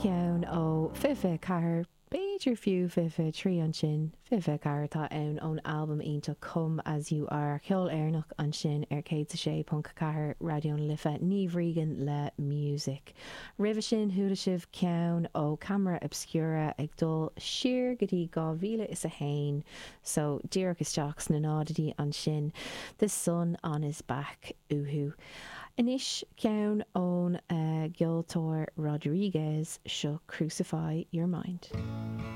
ceann ó 2024, b'fhéidir fiú 2023 ansin, 2024 atá ann ón albam iontach Come As You Are, ceol Éireannach ansin ar 106.4 Raidió na Life, Niamh Regan le Music. Roimhe sin chuala sibh ceann ó Camera Obscura ag dul siar go dtí 2001, so díreach isteach sna náididí ansin, The Sun On His Back uathu. Anois ceann ón gceoltóir Rodriguez, seo Crucify Your Mind.